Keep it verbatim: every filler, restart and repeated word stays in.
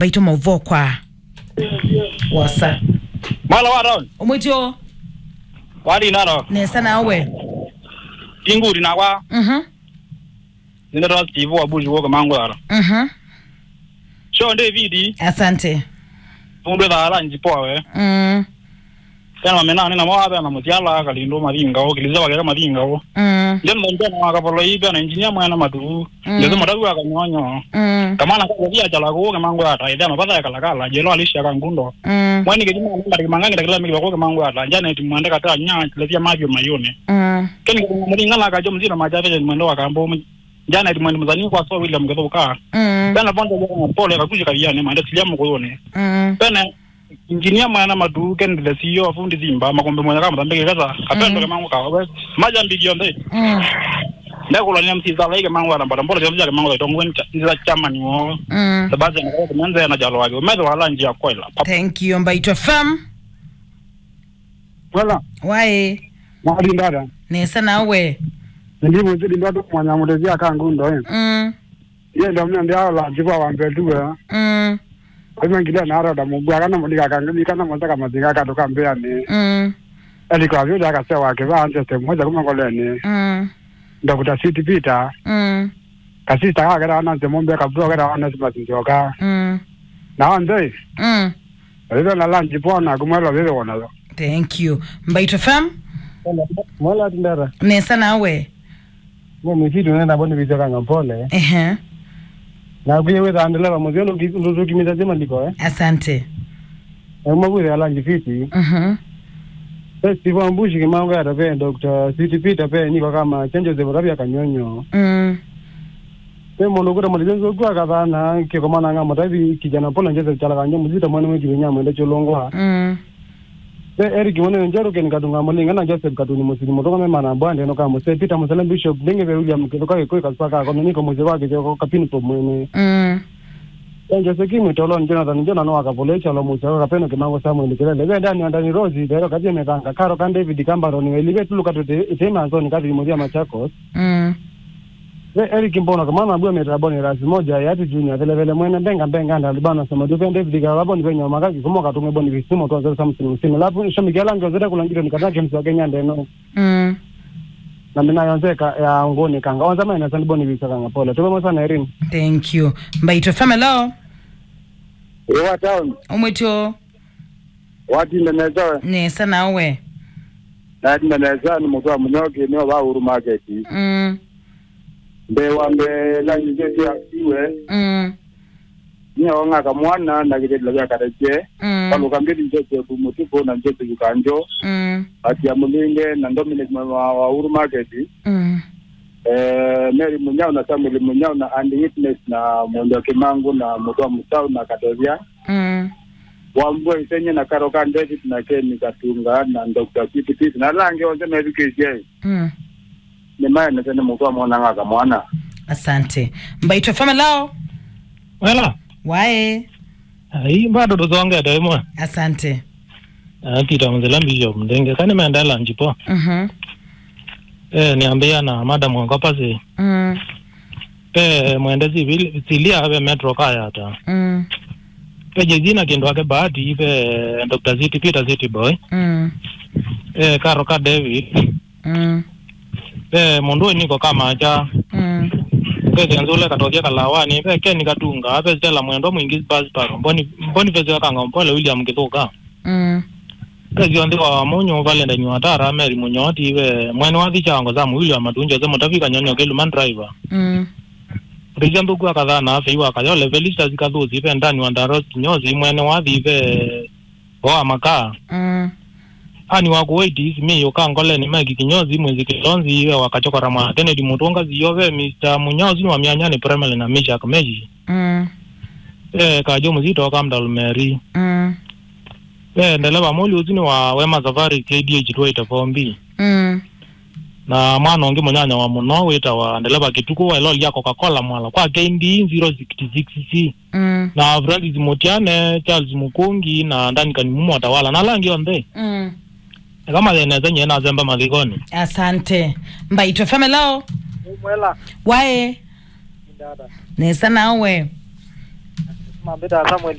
Mbaitũ maũvoo kwa wosa. Mwela wa town. Ũmwĩtyo. Wali nalo. Nesa nawe. Tinguri nakwa. Mhm. Nĩnĩtwa Steve wa Bush Walker Mangwara. Mhm. Sure, David. Asante. Mũndũ ethaa lunch poa we. Mm. Kana mamenani namo ape na mũsyala Kalindũ Mathinga o, Kĩlĩsya wakeka Mathinga o. Mm. Ndio ndo ndio na Kapolo ipe na engineer mwana matu. Mm. Ndio matagu akanyonyo. Mm. Kamana kwa via chala ko ke mangu ata ithema patha ya kalakala jelo alisha kangundo. Mm. Mwani kejima ndio kimangani takila miki ko ke mangu ata jana eti mwende kata nya lefia mavyo mayone. Mm. Keni kwa mlinga na kajo mzina majabe mwendo wa kambo. Jana eti mwende mzani kwa so William Gethuka. Mm. Kana bonde ya pole kakuja kaviane mande silia mkoyone. Mm. Kana Engineer mwana matu, Kenneth the C E O wa Fundi Simba, makombe mwana kama tambe kesa, kapendo ke mangu kawe. Maja mbigi yonde. Mm. Ndakula ni M C Zala ike mangu arambara, mbora yonde ke mangu tongo nita, nita chairman wo. Mm. Sebastian kwa kumenze na jalo wake. Umetho wala njia kwela. Thank you, Mbaitũ F M. Wala. Wae. Mwali ndada. Nesa nawe. Ndi mwezi ndi ndo mwana mutezi akangu ndo. Mm. Ye ndo mna ndi aola jibu wa mbetu we. Mm. Kwa hivyo ngilia na arada mugwa kana mulika kangani kana motaka mazinga katu kambeani. Mm. Eli kwa vyo daga sewa ke ba ante se moja kuma koleni. Mm. Doctor Sweet Peter. Mm. Kasista ka kera na se mombe ka bro kera na se mazinga ka. Mm. Na ande. Mm. Ebe na lunch pona kumwela bebe wona. Thank you. Mbaitũ F M. Mwela tindara. Nesa nawe. Mo misitu nenda boni bicho kanga pole. Ehe. Na kuye wetha ndeleva muzio ndutukimiza zima ndiko eh. Asante. Ema kuye ala njifiti. Mhm. Pe Steve Ambushi kimango ya tape Doctor Sweet Peter pe niko kama chanjo ze burabia kanyonyo. Mm. Pe mono kuta mali zezo kwa kadhana ke komana nga mutabi kijana pole njeze chala kanyo muzita mwana mwe kibinya mwende cholongwa. Mm. Ve Eric Mwanene Njeru, Ken Katunga Mulinga na Joseph Katuni Musili Mutunga me mana bwande no kama se Peter Musala Bishop Ndenge ve William Kithuka Gikui Kasaka kono niko muzee wake joko kapini po mwene. Mm. Enjo Seki Mwitoloni Jonathan Jona no akapole chalo muzee wa kapeno kimango Samuel Kilele ve Dani Andani Rosi vero kaje metanga karo kan David Kambaroni elive tulu katute itema zoni kathi muthia Machakos. Mm. Ve Eric Mbono kamana bua metra boni rasi moja ya ati junior vele vele mwene mbenga mbenga nda libana sama dupe David Gala boni venyo makaki kumo katunge boni visimo to zero something usini lapu shomi gala ndio zeta kulangiro ni katake msa Kenya ndeno. Mm. Na mina yonze ka ya ngoni kanga onza maina sani boni visa kanga pole tuko sana Erin. Thank you. Mbaitũ F M, hello. Ewa town. Omwetyo. Watinda nesa we? Nesa nawe? Natinda nesa ni mutwa munyoki ni wa Uhuru Market. Mm. Mbe wa mbe la nje ya iwe. Mm. Ni onga kamwana na gitelo ya kareche. Mm. Palo kambiri nje ku mutuko na nje ku kanjo. Mm. Ati ya mulinge na Dominic wa, wa Uhuru Market. Mm. Eh, Mary Munyao na Samuel Munyao na Andy Witness na Mondo Kimangu na Mutwa Musau na Katevia. Mm. Wambua Isenye na Karo ka David na Ken Katunga na Doctor Sweet Peter na lange onse methukĩĩsye. Mm. Nĩ maenete nĩ mũtwa mwananga kamwana. Asante. Mbaitũ F M, hello. Wela. Wae. Ai, bado tũsongete ĩmwe. Asante. Ah, Peter Mzela Bishop Ndenge. Kani mendela njipo. Mhm. Eh, niambia na madam wa Kopasi. Mm. Pe mwende civil, silia pe Metro Kayata. Mm. Pe Jezina Kindu ake Bahati, pe Doctor City, Peter City Boy. Mm. Pe Karo ka David. Mm. Pe Mundu Niko Kamacha. Mm. Pe Kenzule Katothia Kalawani, pe Ken Katunga, pe Stella Mwendwa Mwingi Bas Paro. Boni, Boniface Wakanga Mpole, William Kithuka. Mm. Pesi onthe wa Wamunyu, Valentine Watara, Mary Munyoti, ve mwene wa Thichango, Sam William Matunjo, Jose Mutavi, Kanyonyo, Keluman Driver. Mm. Rija Nthuku wa Kathana, Fei wa Kayole, Felicitas Kathusi, ve Ndani wa Ndaros Kinyozi, mwene wa Thi, ve Oa Makaa. Mm. Ani wa Kuwait, Isimi, Yuka Ngoleni, Mike Kinyozi, Mwezi Kilonzi, ve wa Kachokora mwa Kennedy Mutunga, Ziyo, ve Mister Munyao, Zini wa Mianyani, Primary na Mishak Meji. Mm. Eh, Kajo Muzito, Kamdal Mary. Mm. Eh, ndeleva mũli ũsu nĩ wa Wema Safari K D H twenty-four B. Mm. Na mwana ũngĩ mũnyanya wa mũno wĩtawa ndeleva Kĩtukũ wa ĩloli ya Coca-Cola Mwala kwa K D zero sixty-six C. Mm. Na Francis Mũtiane, Charles Mũkũngi, na Duncan Mumo Tawala, na ala angĩ onthe. Mm. Eka mathĩnĩsye nyie nasemba mathĩkonĩ. Asante. Mbaitũ F M, hello. Mwela. Wae. Ndada. Nesa nawe. Mambĩtaa Samuel